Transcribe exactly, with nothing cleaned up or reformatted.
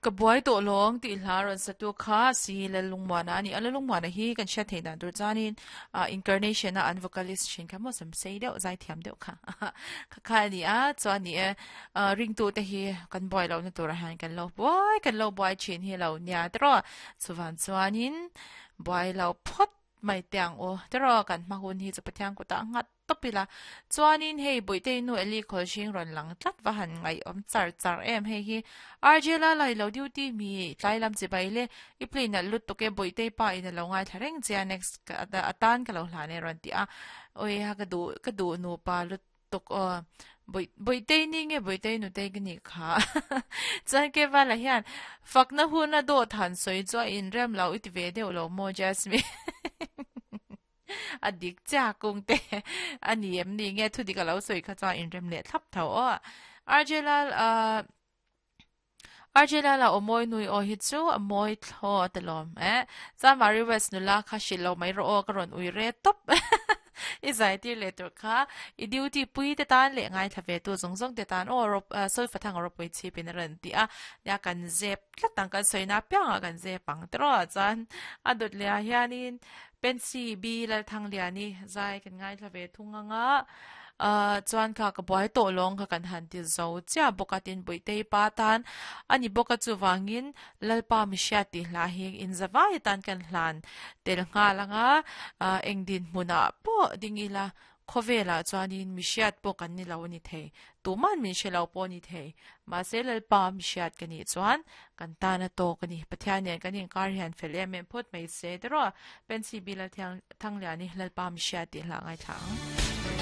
Ka buai tawh lawng tih hla rawn sa tu kha si Lalungmuana a ni a. Lalungmuana hi kan hriat theih dan tur chuanin ah incarnation a an vocalist thin kha maw sam sei deuh zai thiam deuh kha kha kha a ni a. Chuan ni e ah ringtu te hi kan buai lohna turah hian kan lo buai kan lo buai thin hi lo nia tawh chuvan chuanin buai lo phawt mai te ang u tawh kan hma hun hi chu Pathian kutah nghat tawp ila chuanin hei Buitei nu Eli Khawlhring rawn lang tlat va han ngaih awm char char em hei hi R J la lai lo duty mi tlai lam chi bai le i play nalh lut tuk e Buitei pa in a lo ngaithla reng che a next atan ka lo hlan e rawn ti a oi ha ka duh ka duh nupa lut tuk aw Bui Buitei ni nge Buitei nutei ka nih kha chuan ke vala hian fakna hun a dawt han sawi chu a inrem lo i ti ve deuh lo maw Jasmine a dik chiah kung te a ni em ni nge thu dik a lo sawi kha chuan inrem leh thlap tho aw R J Lal ah R J Lal a aw mawi nui aw hi chu a mawi thlaw a telawm eh chuan Mari West nula kha hrilh lo mai rawh aw ka rawn ui re tawp i zai tir leh tur kha i duty pui te tan leh ngaithla ve tu zawng zawng te tan aw rawp sawifa thang a rawpui chhip in a rawn ti a nia kan zep tlat ang kan sawina piangah kan zep ang tawh chuan a dawt leh ah hianin Pensy B Lalthangliani zai kan ngaithla ve thung anga ah chuan kha ka buai tawh lawng kha kan han ti zo chiah bawk a tin Buitei pa tan a ni bawk a chuvangin Lalpa mihriat tih hla hi inzavai atan kan hlan tel nghal anga ah eng dinhmunah pawh ding ila khawvelah chuanin mihriat pawh kan ni lo a ni thei tuman min hre lo pawh a ni thei mahse Lalpa mihriat ka nih chuan kan tan a tawk a ni Pathian nen kan inkar hian fel em em phawt mai se tiraw Pensy Lalthangliani Lalpa mihriat tih hla ngaithla ang.